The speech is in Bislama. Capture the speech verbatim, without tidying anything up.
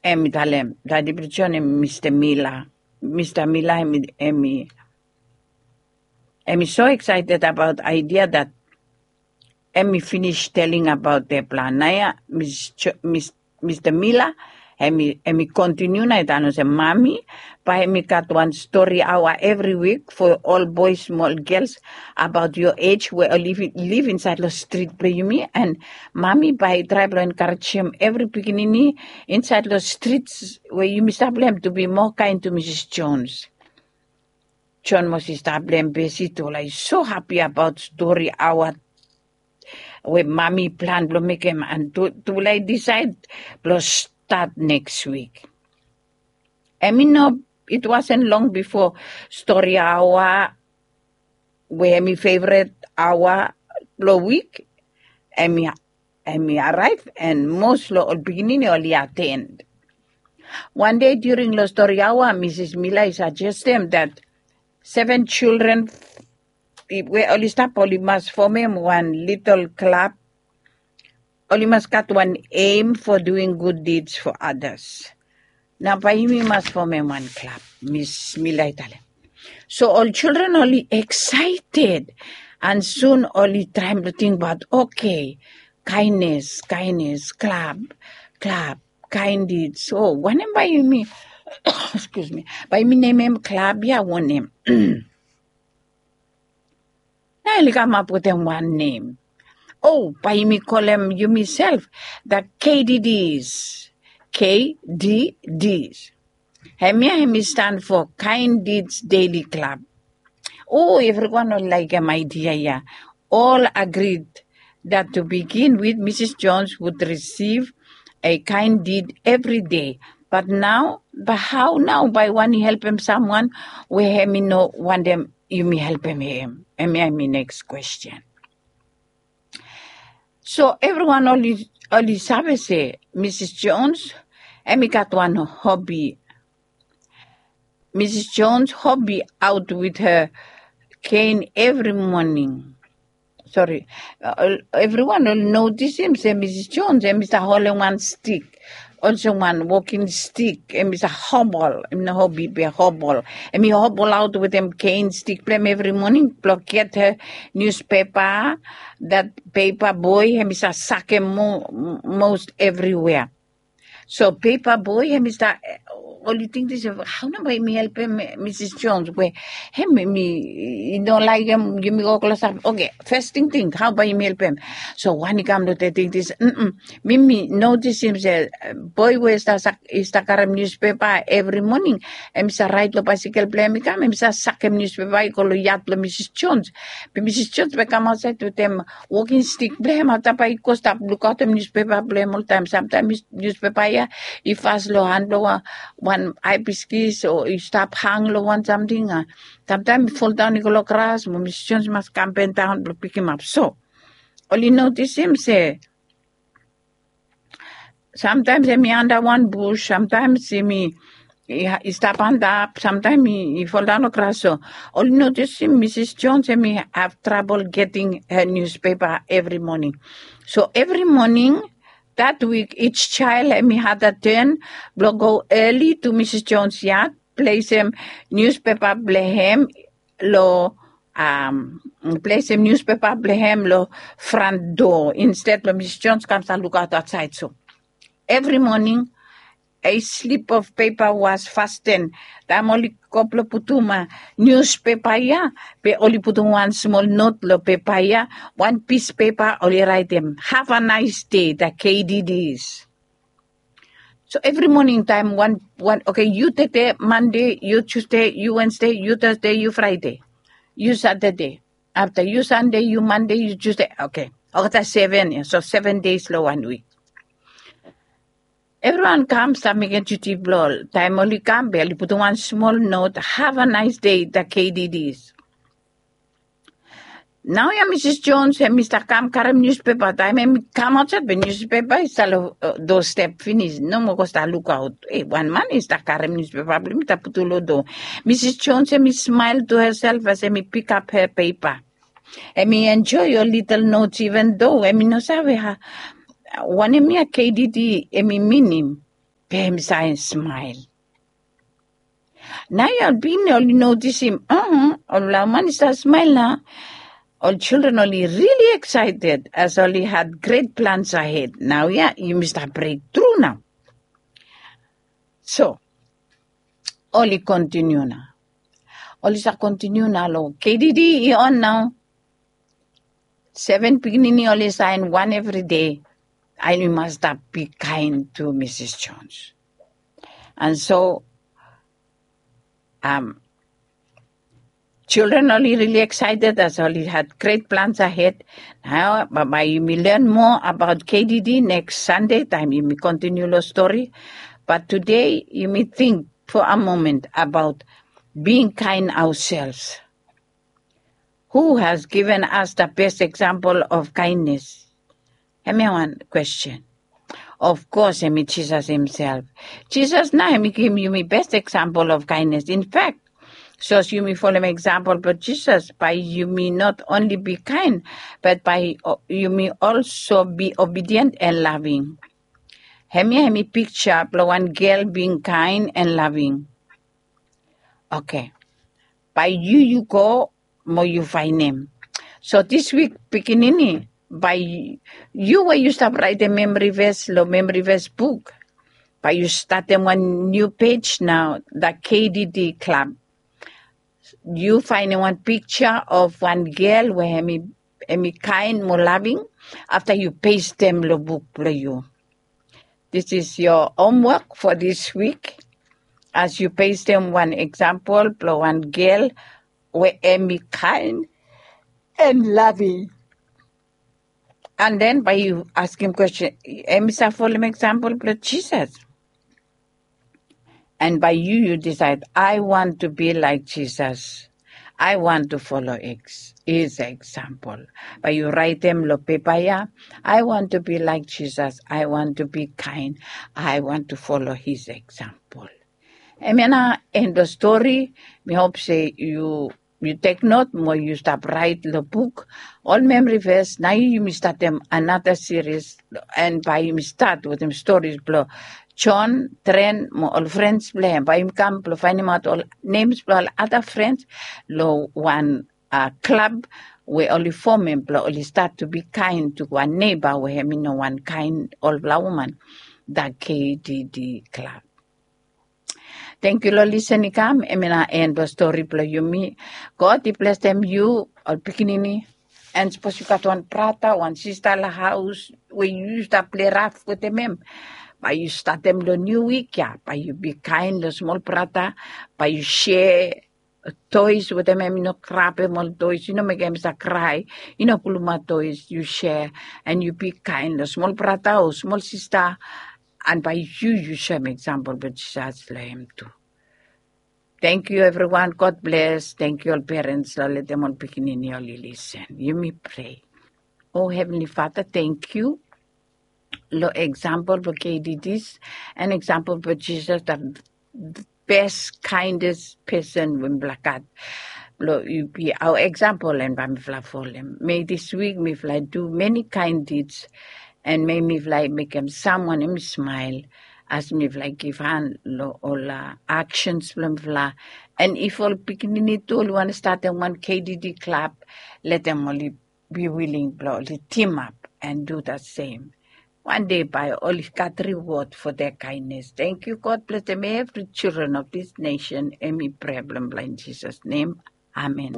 Em i talem, dadi blong John em i Mista Mila. Mista Mila em i em i em i so excited about idea that em i finish telling about their plan. Naoia Mista Mila em i em i continue na i talem olsem, mami, bae em i gat wan story hour every week for all boys, small girls about your age we live live inside long street blong yumi, and mami bae i try blong encouragem every pikinini inside long streets we yumi stap long em to be more kind to Mrs Jones. John Moses stap blong em besi tufala i so happy about story hour we mami plan blong mekem, and tufala i decide blong start next week. Em i no, it wasn't long before story hour we em i favorite hour blong week em i em i arrive, and most long ol pikinini oli attend. Wan dei during long story hour, Mrs Mila i suggestem that seven children we oli stap oli mas formem wan little club. Oli mas gat wan aim for doing good deeds for others. Nao bae yumi mas formem wan club, Mrs Mila i talem. So ol children oli excited, and soon oli traem blong tingbaot, okay, kindness, kindness, club, club, kind deeds. So wanem bae yumi, excuse me, bae yumi nemem club ya wanem? Nao oli kamap wetem wan nem. O, bae yumi kolem yumiself the K D Ds. K D Ds. Hemia hem i stan for Kind Deeds Daily Club. O, evriwan oli laekem idea ya. All agreed that to begin with, Mrs Jones would receive a kind deed every day. But nao, bae hao nao bae i wantem helpem samwan we hem i no wantem yumi helpem hem? Hemia hem i neks kwesten. So evriwan oli save se Mrs Jones hem i gat wan hobi. Mrs Jones hobi out with her cane evri moning. Sori, evriwan oli notisim se Mrs Jones hem i stap holem wan stik, olsem wan woking stik, hem i stap hobol, hem i no hobi be hobol. Hem i hobol aot wetem cane stik blong hem evri moning blong get her niuspepa, that pepa boe hem i stap sakem mos evriwea. So pepa boe hem i stap, oli tingting se hao nao bae yumi helpem Mrs Jones we hem i no laekem yumi go klosap. Oke, fes tingting hao bae yumi helpem. So wan i kam long tingting se, mi mi notisim se boe we i stap karem niuspepa evri moning, hem i stap raet long baesekel blong hem i kam, hem i stap sakem niuspepa i go long yat blong Mrs Jones. Be Mrs Jones bae i kam aotsaed wetem woking stik blong hem, afta bae i go stap lukaotem niuspepa blong hem oltaem. Samtaem niuspepa ya i fas long han blong wan hae biskis o i stap hang long wan samting. Samtaem i foldaon i go long gras mo Mrs Jones i mas kam bendaon blong pikimap. So oli notisim se samtaem hem i anda wan bus, samtaem hem i stap antap, samtaem i foldaon long gras. So oli notisim Mrs Jones hem i have trouble getting her niuspepa evri moning. So evri moning that week each child hem i had a turn blong go early to Mrs Jones yat, plesem niuspepa blong hem long, plesem niuspepa blong hem long fran doa insted blong Mrs Jones kam stap lukaot aotsaed. So evri moning a slip of pepa was fasten. Taem oli go blong putum niuspepa ya, be oli putum wan smol not long pepa ya, wan pis pepa oli raetem, have a nice day, the K D Ds. So evri moning taem wan wan, oke, yu tede Mande, yu Tusde, yu Wensde, yu Tasde, yu Fraede, yu Satade, afta yu Sande, yu Mande, yu Tusde. Oke, olgeta seven ya, so seven days long wan wik. Evriwan kam stap mekem duti blong ol. Taem oli kam be oli putum wan smol not, have a nice day, the K D Ds. Naoia Mrs Jones hem i stap kam karem niuspepa. Taem hem i kam aotsaed be niuspepa i stap long doa step finis, no moa go stap lukaot. E, wan man i stap karem niuspepa blong hem i stap putum long doa. Mrs Jones hem i smile to herself as hem i pikap her pepa. Hem i enjoy ol litel notes even doa hem i no save wanem ya K D D hem i minim. Be hemi save smael. Nao ya ol pikinini oli notisim, ol laman i stap smael nao. Ol children oli rili excited as oli had great plans ahead. Nao ya yumi stap brek tru nao. So oli kontiniu nao. Oli stap kontiniu nao long K D D i on nao. Seven pikinini oli saen wan evri dei. And yu mas stap bikaen tu Misis Jones. And so children oli rili excited as oli had great plans ahead. Nao bae yumi len moa abaot K D D neks Sande taem yumi kontiniu long stori. Bat tude yumi ting for a moment abaot being kind ourselves. Who has given us the best example of kindness? Hemia wan kwesten. Of course hemi Jisas himself. Jisas nao hemi givim yumi best example of kindness. In fact, sapos yumi folem example blong Jisas bae yumi not only be kind, bat bae yumi also be obedient and loving. Hemia hemi piksa blong wan gel being kind and loving. Okay. Bae yu yu go mo yu faenem. So dis wik pikinini, bae yu we yu stap raetem memori ves long memori ves buk, bae yu statem wan niu pej nao, the K D D Club. Yu faenem wan piksa of wan gel we hemi kaen mo laving. Afta yu pestem long buk blong yu. This is your homework for this week. As yu pestem wan example blong wan gel we hemi kaen and loving. And then bae yu askem kwesten, hemi save folem example blong Jisas? And bae yu yu disaed, I want to be like Jesus. I want to follow his example. Bae yu raetem long pepa ya, I want to be like Jesus. I want to be kind. I want to follow his example. Hemia nao en blong stori. Mi hop se yu yu tek not mo yu stap raet long buk ol memori ves. Nao yumi statem anata siris, and bae yumi stat wetem storis blong John, Tren mo ol frens blong hem. Bae yumi kam blong faenemaot ol nems blong ol ada frens long wan klab we oli fomem blong oli stat tu bi kaen tu wan neba we hemi no wan kaen olfala woman. The K D D Club. Tangkiu long lisen i kam. Hemia nao en blong stori blong yumi. God i blesem yu, ol pikinini. And sapos yu gat wan brata, wan sista long haos we yu yus stap pleraf wetem hem, bae yu statem long niu wik ya, bae yu bi kaen long smol brata. Bae yu sea toes wetem hem. Yu no grabem ol toes, yu no mekem hem stap krae. Yu no pulumaot toes, yu sea. And yu bi kaen long smol brata o smol sista. And bae yu yu soem eksampol blong Jisas long hem tu. Tangkiu evriwan. God bles. Tangkiu ol perens long letem ol pikinini oli lisen. Yumi prea. O Heavenly Father, tangkiu long eksampol blong K D Ds and eksampol blong Jisas, the best, kindest person we mifala gat. Blong yu bi aoa eksampol and bae mifala folem. May this week mifala du many kind deeds, and may mifala mekem samwan hemi smael as mifala givhan long ol aksens blong mifala. And if ol pikinini tu oli wantem statem wan K D D klab, letem oli be willing blong oli timap and do the same. Wan dei bae oli gat reward for their kindness. Tangkiu. God blesem evri children of this nation. Hemi prea blong mifala in Jisas nem. Amen.